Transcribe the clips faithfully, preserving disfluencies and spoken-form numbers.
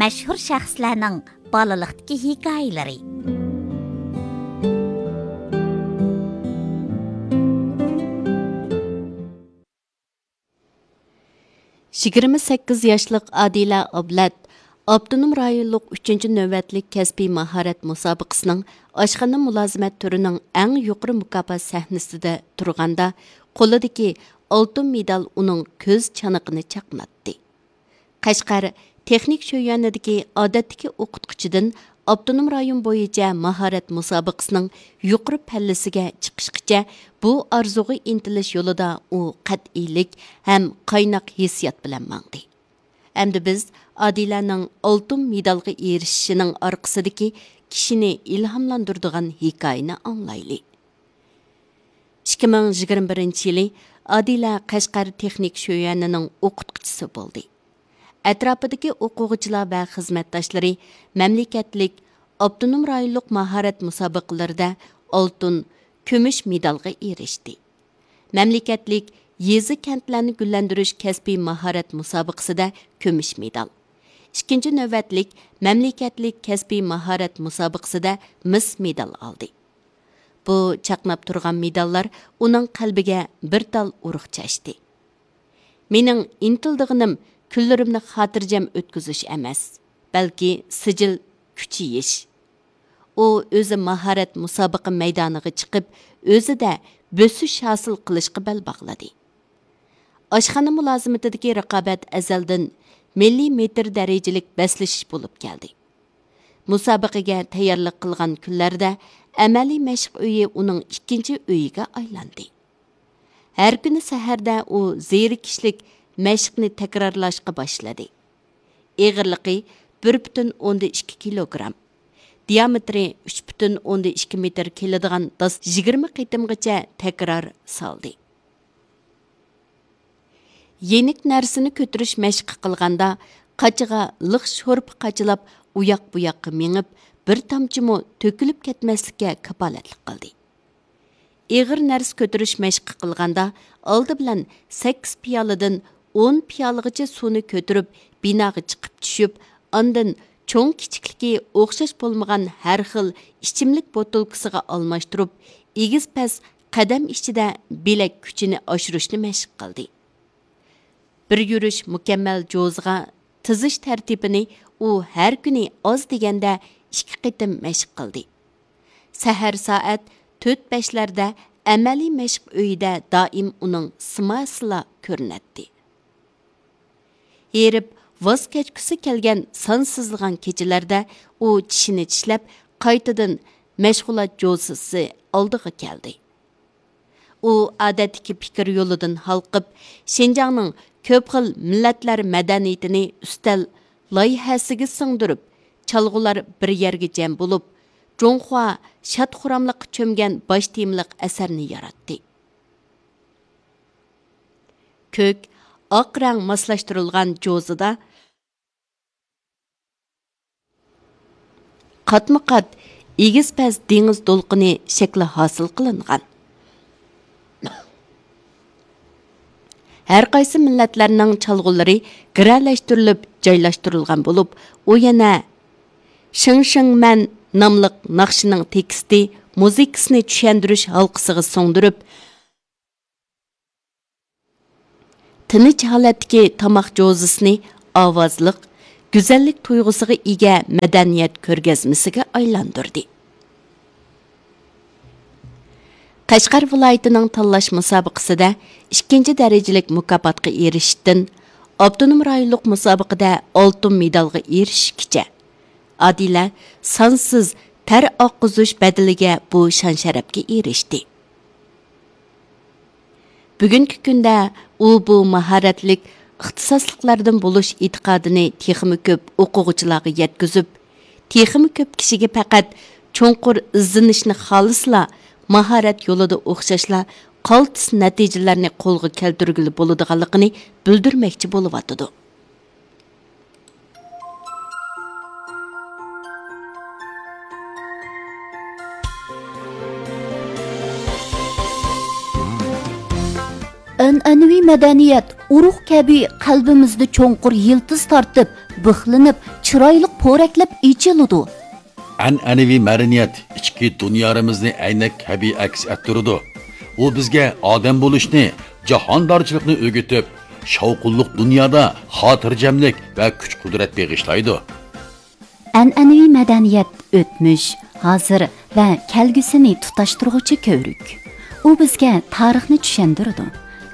مەشھۇر شەخسلەرنىڭ بالىلىقتىكى ھېكايىلىرى. يىگىرمە سەككىز ياشلىق ئادىلە ئابلەت ئاپتونوم رايونلۇق ئۈچىنچى نۆۋەتلىك كەسپىي ماھارەت مۇسابىقىسىنىڭ ئاشخانا مۇلازىمەت تۈرىنىڭ ئەڭ يۇقىرى مۇكاپات سەھنىسىدە تۇرغاندا، قولىدىكى ئالتۇن مېدال ئۇنىڭ كۆز چانىقىنى چاقناتتى. قەشقەر تېخنىك شۆيۈەنىدىكى ئادەتتىكى ئوقۇتقۇچىدىن ئاپتونوم رايون بويىچە ماھارەت مۇسابىقىسىنىڭ يۇقىرى پەللىسىگە چىقىشقىچە بۇ ئارزۇغا ئىنتىلىش يولىدا ئۇ قەتئىيلىك ھەم قايناق ھېسسىيات بىلەن ماڭدى. ئەمدى بىز ئادىلەنىڭ ئالتۇن مېدالغا ئېرىشىشىنىڭ ئارقىسىدىكى كىشىنى ئىلھاملاندۇرىدىغان ھېكايىنى ئاڭلايلى. ئىككى مىڭ يىگىرمە بىرىنچى يىلى ئادىلە قەشقەر تېخنىك شۆيۈەنىنىڭ ئوقۇتقۇچىسى بولدى. ئەتراپىدىكى ئوقۇغۇچىلار ۋە خىزمەتداشلىرى مەملىكەتلىك، ئاپتونوم رايونلۇق ماھارەت مۇسابىقىلىرىدە ئالتۇن، كۈمۈش مېدالغا ئېرىشتى. مەملىكەتلىك يېزا، كەنتلەرنى گۈللەندۈرۈش كەسپىي ماھارەت مۇسابىقىسىدە كۈمۈش مېدال، ئىككىنچى نۆۋەتلىك مەملىكەتلىك كەسپىي ماھارەت مۇسابىقىسىدە مىس مېدال ئالدى. بۇ چاقناپ تۇرغان مېداللار ئۇنىڭ قەلبىگە بىر تال ئۇرۇق چاچتى. مېنىڭ ئىنتىلىدىغىنىم كۈنلىرىمنى خاتىرجەم ئۆتكۈزۈش ئەمەس، بەلكى سىجىل كۈچىيىش. ئۇ ئۆزى ماھارەت مۇسابىقە مەيدانىغا چىقىپ، ئۆزىدە بۆسۈش ھاسىل قىلىشقا بەل باغلىدى. ئاشخانا مۇلازىمىتىدىكى رىقابەت ئەزەلدىن مىللىي مېتىر دەرىجىلىك بەسلىشىش بولۇپ كەلدى. مۇسابىقىگە تەييارلىق قىلغان كۈنلەردە ئەمەلىي مەشىق ئۆيى ئۇنىڭ ئىككىنچى ئۆيىگە ئايلاندى. ھەر كۈنى سەھەردە ئۇ زېرىكىشلىك مەشىقنى تەكرارلاشقا باشلىدى. ئېغىرلىقى بىر پۈتۈن ئوندىن ئىككى كىلوگرام، دىيامېتىرى ئۈچ پۈتۈن ئوندىن ئىككى مېتىر كېلىدىغان داس يىگىرمە قېتىمغىچە تەكرار سالدى. يېنىك نەرسىنى كۆتۈرۈش مەشقى قىلغاندا، قاچىغا لىق شورپا قاچىلاپ، ئۇياق-بۇياققا مېڭىپ، بىر تامچىمۇ تۆكۈلۈپ كەتمەسلىككە كاپالەتلىك قىلدى. ئېغىر نەرسە كۆتۈرۈش مەشقى قىلغاندا، ئالدى بىلەن سەككىز پىيالىدىن ئون پىيالىغىچە سۇنى كۆتۈرۈپ، بىناغا چىقىپ چۈشۈپ، ئاندىن چوڭ-كىچىكلىكى ئوخشاش بولمىغان ھەر خىل ئىچىملىك بوتۇلكىسىغا ئالماشتۇرۇپ، ئېگىز-پەس قەدەم ئىچىدە بىلەك كۈچىنى ئاشۇرۇشنى مەشىق قىلدى. بىر يۈرۈش مۇكەممەل جوزىغا تىزىش تەرتىپىنى ئۇ ھەر كۈنى ئاز دېگەندە ئىككى قېتىم مەشىق قىلدى. سەھەر سائەت تۆت-بەشلەردە ئەمەلىي مەشىق ئۆيىدە دائىم ئۇنىڭ سىماسىلا كۆرۈنەتتى. ھېرىپ، ۋاز كەچكۈسى كەلگەن سانسىزلىغان كېچىلەردە ئۇ چىشىنى چىشلەپ، قايتىدىن مەشغۇلات جوزىسى ئالدىغا كەلدى. ئۇ ئادەتتىكى پىكىر يولىدىن ھالقىپ، شىنجاڭنىڭ كۆپ خىل مىللەتلەر مەدەنىيىتىنى ئۈستەل لايىھەسىگە سىڭدۈرۈپ، چالغۇلار بىر يەرگە جەم بولۇپ، جۇڭخۇا شاد-خۇراملىققا چۆمگەن باش تېمىلىق ئەسەرنى ياراتتى. كۆك، ئاق رەڭ ماسلاشتۇرۇلغان جوزىدا قاتمۇ قات ئېگىز پەس دېڭىز دولقۇنى شەكلى ھاسىل قىلىنغان. ھەر قايسى مىللەتلەرنىڭ چالغۇلىرى گىرەلەشتۈرۈلۈپ جايلاشتۇرۇلغان بولۇپ، ئۇ يەنە شىڭ شىڭ مەن ناملىق ناخشىنىڭ تېكىستى، مۇزىكىسىنى چۈشەندۈرۈش ھالقىسىغا سىڭدۈرۈپ، تىنچ ھالەتتىكى تاماق جوزىسىنى ئاۋازلىق، گۈزەللىك تۇيغۇسىغا ئىگە مەدەنىيەت كۆرگەزمىسىگە ئايلاندۇردى. قەشقەر ۋىلايىتىنىڭ تاللاش مۇسابىقىسىدە ئىككىنچى دەرىجىلىك مۇكاپاتقا ئېرىشىشتىن، ئاپتونوم رايونلۇق مۇسابىقىدە ئالتۇن مېدالغا ئېرىشىشكىچە، ئادىلە سانسىز تەر ئاققۇزۇش بەدىلىگە بۇ شان-شەرەپكە ئېرىشتى. بۈگۈنكى كۈندە ئۇ بۇ ماھارەتلىك ئىختىساسلىقلاردىن بولۇش ئېتىقادىنى تېخىمۇ كۆپ ئوقۇغۇچىلارغا يەتكۈزۈپ، تېخىمۇ كۆپ كىشىگە پەقەت چوڭقۇر ئىزدىنىشنى خالىسىلا، ماھارەت يولىدا ئوخشاشلا قالتىس نەتىجىلەرنى قولغا كەلتۈرگىلى بولىدىغانلىقىنى بىلدۈرمەكچى بولۇۋاتىدۇ. ئەنئەنىۋى مەدەنىيەت ئۇرۇق كەبى قەلبىمىزدە چوڭقۇر يىلتىز تارتىپ، بىخلىنىپ، چىرايلىق پورەكلەپ ئېچىلىدۇ. ئەنئەنىۋى مەدەنىيەت ئىچكى دۇنيارىمىزنى ئەينەك كەبى ئەكس ئەتتۈرىدۇ. ئۇ بىزگە ئادەم بولۇشنى، جاھاندارچىلىقنى ئۆگىتىپ، شاۋقۇنلۇق دۇنيادا خاتىرجەملىك ۋە كۈچ-قۇدرەت بېغىشلايدۇ. ئەنئەنىۋى مەدەنىيەت ئۆتمۈش، ھازىر ۋە كەلگۈسىنى تۇتاشتۇرغۇچى كۆۋرۈك. ئۇ بىزگە تارىخنى چۈشەندۈرىدۇ،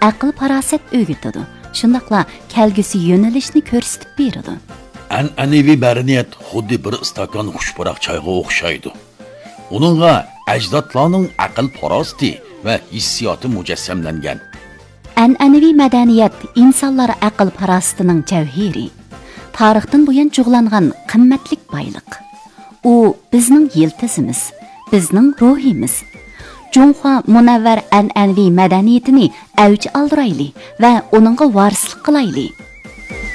ئەقىل-پاراسەت ئۆگىتىدۇ، شۇنداقلا كەلگۈسى يۆنىلىشنى كۆرسىتىپ بېرىدۇ. ئەنئەنىۋى مەدەنىيەت خۇددى بىر ئىستاكان خۇش پۇراق چايغا ئوخشايدۇ. ئۇنىڭغا ئەجدادلارنىڭ ئەقىل-پاراسىتى ۋە ھېسسىياتى مۇجەسسەملەنگەن. ئەنئەنىۋى مەدەنىيەت ئىنسانلار ئەقىل-پاراسىتىنىڭ جەۋھىرى، تارىختىن بۇيان جۇغلانغان قىممەتلىك بايلىق. ئۇ بىزنىڭ يىلتىزىمىز، بىزنىڭ روھىمىز. جۇڭخۇا مۇنەۋۋەر ئەنئەنىۋى مەدەنىيىتىنى ئەۋج ئالدۇرايلى ۋە ئۇنىڭغا ۋارىسلىق قىلايلى.